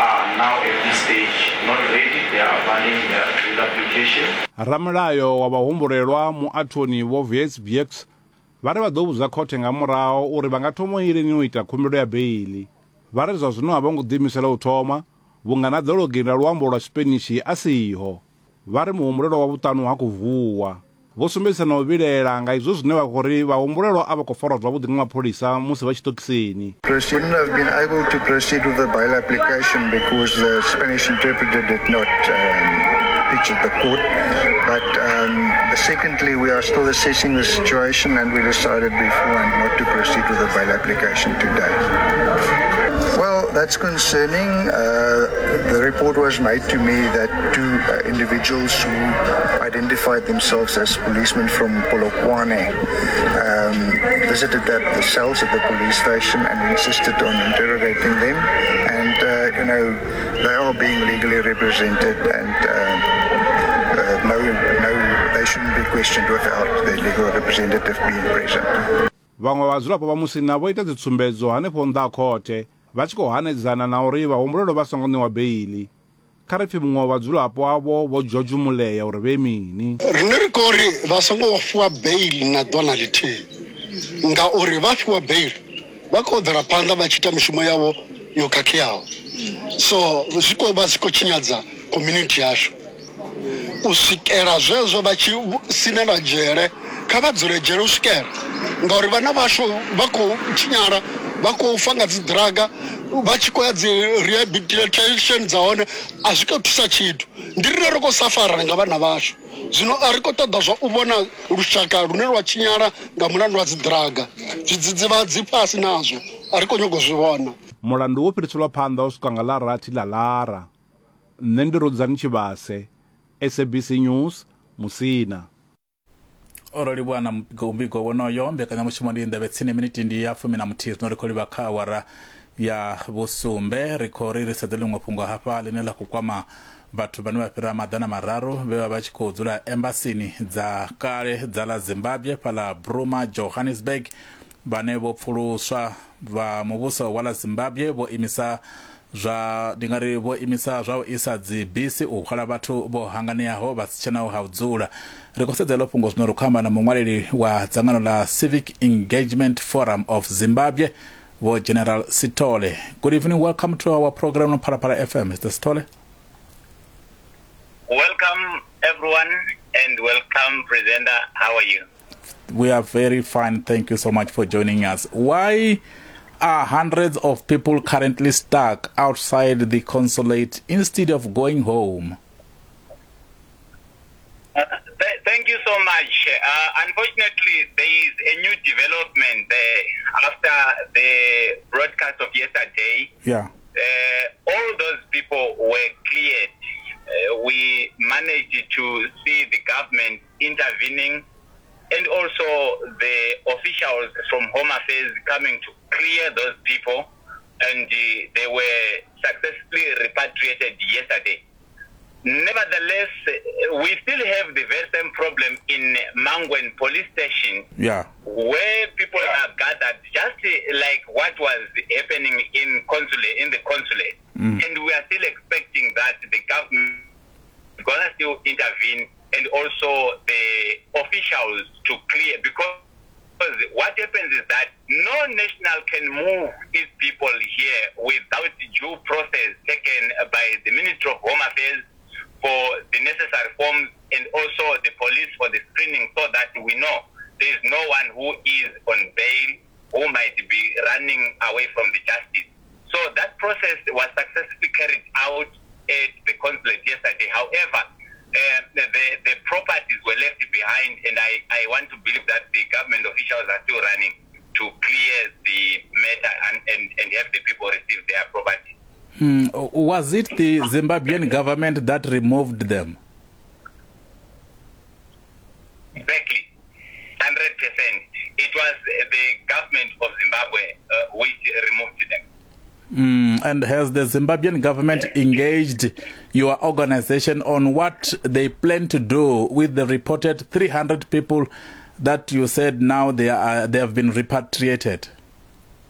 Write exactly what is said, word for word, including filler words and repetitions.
are now at this stage not ready. They are abandoning their bail application. Ramulayo wa vhahumbulelwa muathoni Vho Vets Bx vha ri vha ḓo vhudza khothe nga murahu uri vha nga thoma lini u ita khumbelo ya beiḽi. Vha ri zwa zwino a vho ngo ḓiimisela u thoma vhunga na ḓologi ḽa luambo lwa Spanish a siho. Vha ri muhumbulelwa wa vhuṱanu ha khou vuwa. Vho sumbedzisa na u vhilaela nga izwo zwine vha khou ri vhahumbulelwa a vha khou farwa zwavhuḓi nga mapholisa musi vha tshiṱokisini. Wouldn't have been able to proceed with the bail application because the Spanish interpreter did not um, pitch at the court. But um, secondly, we are still assessing the situation, and we decided beforehand not to proceed with the bail application today. Well, that's concerning. Uh, the report was made to me that two uh, individuals who identified themselves as policemen from Polokwane um, visited the, the cells at the police station and insisted on interrogating them. And, uh, you know, they are being legally represented, and uh, uh, no, no, they shouldn't be questioned without their legal representative being present. Vhaṅwe vhadzulapo vha Musina vho ita dzitsumbedzo hanefho nnḓa ha khothe vha tshi khou hanedzana na uri vhahumbulelwa vha songo ṋewa beiḽi. Kha ri pfi muṅwe wa vhadzulapo avho Vho George Mulea uri vhe mini. Rine ri khou ri vha songo fhiwa beiḽi na ḓuvha na ḽithihi, ngauri vha fhiwa beiḽi vha khou bvela phanḓa vha tshi ita mishumo yavho yo khakheaho, so zwi khou vha zwi khou tshinyadza community yashu. U swikela zwezwo vha tshi sinela dzhele, kha vha dzule dzhele u swikela, ngauri vhana vhashu vha khou tshinyala, vha khou fa nga dzi draga, vha tshi khou ya dzi rehabilitation dza hone a zwi khou thusa tshithu. Ndi rine ri khou safara nga vhana vhashu, zwino a ri khou ṱoḓa zwa u vhona lushaka lune lwa tshinyala nga mulandu wa dzi draga. Zwidzidzivhadzi fhasi nazwo a ri khou nyago zwi vhona. Mulandu wo fhiriselwa phanḓa u swika nga ḽa rathi ḽa Lara. Nṋe ndi Rudzani Tshivhase, S A B C News, Musina. O livhuwa na mbigo wonoyo. Mbekanyamushumo ndi nḓevhe tsini miniti ndi ya fumi na muthihi, zwino ri khou livha kha awara ya vhusumbe. Ri khou ri ri sedze ḽiṅwe fhungo hafha ḽine ḽa khou kwama vhathu vhane vha fhira maḓana mararu vhe vha vha tshi khou dzula embasini dza kale dza ḽa Zimbabwe fhaḽa Bruma, Johannesburg, vhane vho pfuluswa. Vha muvhuso wa ḽa Zimbabwe vho imisa zwa ndi nga ri vho imisa zwa u isa dzi bisi u hwala vhathu vho hanganeaho vha si tshenaho ha u dzula. Ri khou sedza ḽo fhungo zwino ri khou amba na muṅwaleli wa dzangano ḽa Civic Engagement Forum of Zimbabwe, Vho General Sithole. Good evening, welcome to our program on Phalaphala F M. Mister Sithole. Welcome everyone, and welcome presenter. How are you? We are very fine. Thank you so much for joining us. Why are hundreds of people currently stuck outside the consulate instead of going home? Uh, th- thank you so much. Uh, unfortunately, there is a new development there after the broadcast of yesterday. Yeah. Uh, all those people were cleared. Uh, we managed to see the government intervening and also the officials from Home Affairs coming to clear those people, and uh, they were successfully repatriated yesterday. Nevertheless, we still have the very same problem in Mangwen police station, yeah, where people are gathered, just like what was happening in consulate, in the consulate. Mm. And we are still expecting that the government is going to still intervene, and also the officials to clear, because what happens is that no national can move its people here without due process taken by the Ministry of Home Affairs for the necessary forms, and also the police for the screening, so that we know there is no one who is on bail who might be running away from the justice. So that process was successfully carried out at the consulate yesterday. However, uh, the, the properties were left behind, and I, I want to believe that the government officials are still running to clear the matter and, and, and have the people receive their property. Mm, was it the Zimbabwean government that removed them? Exactly, one hundred percent. It was the government of Zimbabwe uh, which removed them. Mm, and has the Zimbabwean government engaged your organization on what they plan to do with the reported three hundred people that you said now they are they have been repatriated?